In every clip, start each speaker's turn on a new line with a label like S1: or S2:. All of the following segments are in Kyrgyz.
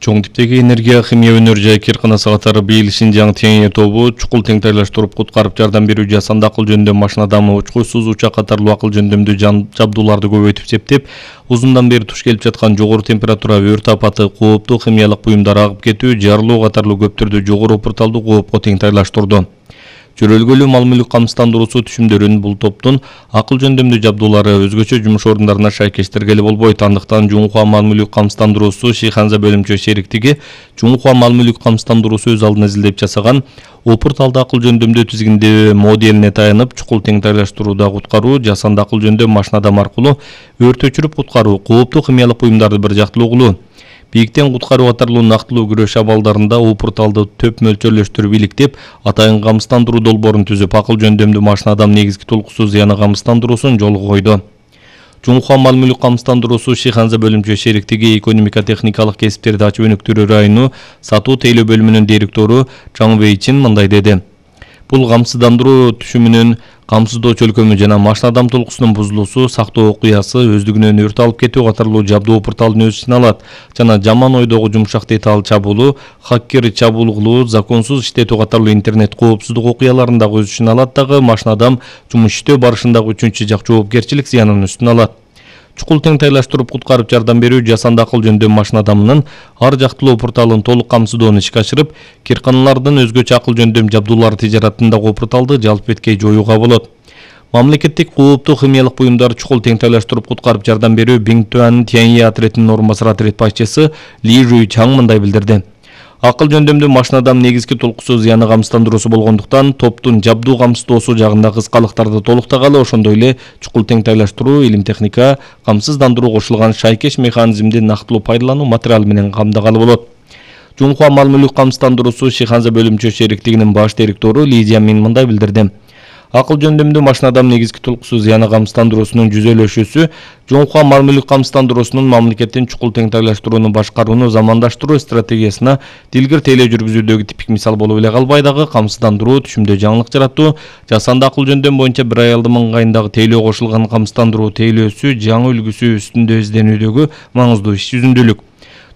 S1: Чоң типтеги энергия химия өнөр жай кирканасы катары быйыл Шинжаң Тянье тобу чукул теңтайлаштырып куткарып жардам берүү жасанды акыл жөндөм машина дамы учкуч сузууча катарлуу акыл жөндөмдүү жабдууларды көбөйтүп септеп, узундан бери туш келип жаткан жогору температура, өрт апаты, кооптуу химиялык буюмдар агып кетүү, жарылуу катарлуу көп түрдүү жогору опурталдуу коопко теңтайлаштырды. Чөрөлгөлүү мал-мүлк камсыздандыруусу түшүмдөрүн бул топтун акыл жөндөмдүү жабдуулары өзгөчө жумуш орундарына шайкештиргели болбойт. Андыктан Жунхуа мал-мүлк камсыздандыруусу Шиханза бөлүмчө шериктиги Жунхуа мал-мүлк камсыздандыруусу өз алдына изилдеп жасаган опурталды акыл жөндөмдүү тизгиндөө моделине таянып, чукул теңтайлаштырууда куткаруу, жасанды акыл жөндөм машинадам аркылуу өрт өчүрүп куткаруу, кооптуу химиялык буюмдарды бир жактылуу кылуу, бийиктен куткаруу катарлуу нактылуу күрөш абалдарында опурталды төп мөлчөрлөштүрүп иликтеп, атайын камсыздандыруу долбоорун түзүп, акыл жөндөмдүү машинадам негизги толкусуз зыяны камсыздандыруусун жолго койду. Жунхуа мал-мүлк камсыздандыруусу Шиханза бөлүмчө шериктиги экономика техникалык кесиптерди ачып өнүктүрүү району сатуу тейлөө бөлүмүнүн директору Чаң Вэйчин мындай деди. Бул камсыздандыруу түшүмүнүн камсыздоо чөлкөмү жана машинадам толкусунун бузулуусу, сактоо окуясы, өздүгүнөн өрт алып кетүү катарлуу жабдуу опурталдын өз ичине алат жана жаман ойдогу жумшак деталь чабуулу, хаккер чабуул кылуу, законсуз иштетүү катарлуу интернет коопсуздук окуяларын дагы өз ичине алат дагы машинадам жумуш иштөө барышындагы үчүнчү жак жоопкерчилик зыянын үстүнө алат. Чукул теңтайлаштырып куткарып жардам берүү жасанды акыл жөндөм машинадамынын ар жактылуу опурталын толук камсыздоону ишке ашырып, кирканалардын өзгөчө акыл жөндөм жабдуулары тижаратындагы опурталды жалп эткей жоюуга болот. Мамлекеттик кооптуу химиялык буюмдар чукул теңтайлаштырып куткарып жардам берүү Биңтуан Тянье отрядынын орун басары отряд башчысы Ли Жуй Чаң мындай билдирди. Акыл жөндөмдүү машинадам негизги толкусуз зыяны камсыздандыруусу болгондуктан топтун жабдуу камсыздоосу жагында кыскалыктарды толуктагалы, ошондой эле чукул теңтайлаштыруу, илим техника, камсыздандыруу кошулган шайкеш механизмди нактылуу пайдалануу материалы менен камдагалы болот. Жунхуа мал-мүлк камсыздандыруусу Шиханза бөлүмчө шериктигинин баш директору Ли Жамин мындай билдирди. Акыл жөндөмдүү машинадам негизги толкусуз зыяны камсыздандыруусунун жүзөлөшүүсү Жунхуа мал-мүлк камсыздандыруусунун мамлекеттин чукул теңтайлаштырууну башкарууну замандаштыруу стратегиясына дилгир тейлөө жүргүзүүдөгү типик мисал болуп эле калбай дагы камсыздандыруу, түшүмдө жаңылык жаратуу, жасанды акыл жөндөм боюнча бир аялдын ыңгайындагы тейлөө кошулган камсыздандыруу тейлөөсү жаңы үлгүсү үстүндө изденүүдөгү маңыздуу иш жүзүндүүлүк.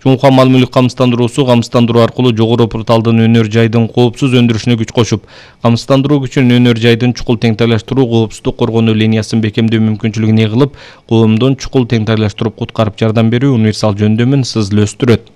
S1: Жунхуа мал-мүлк камсыздандыруусу камсыздандыруу аркылуу жогору опурталдын өнөр жайдын коопсуз өндүрүшүнө күч кошуп, камсыздандыруу күчүн өнөр жайдын чукул теңтайлаштыруу коопсуздук коргонуу линиясын бекемдөө мүмкүнчүлүгүн ээ кылып, коомдун чукул теңтайлаштырып куткарып жардам берүү универсал жөндөмүн сызлы өстүрөт.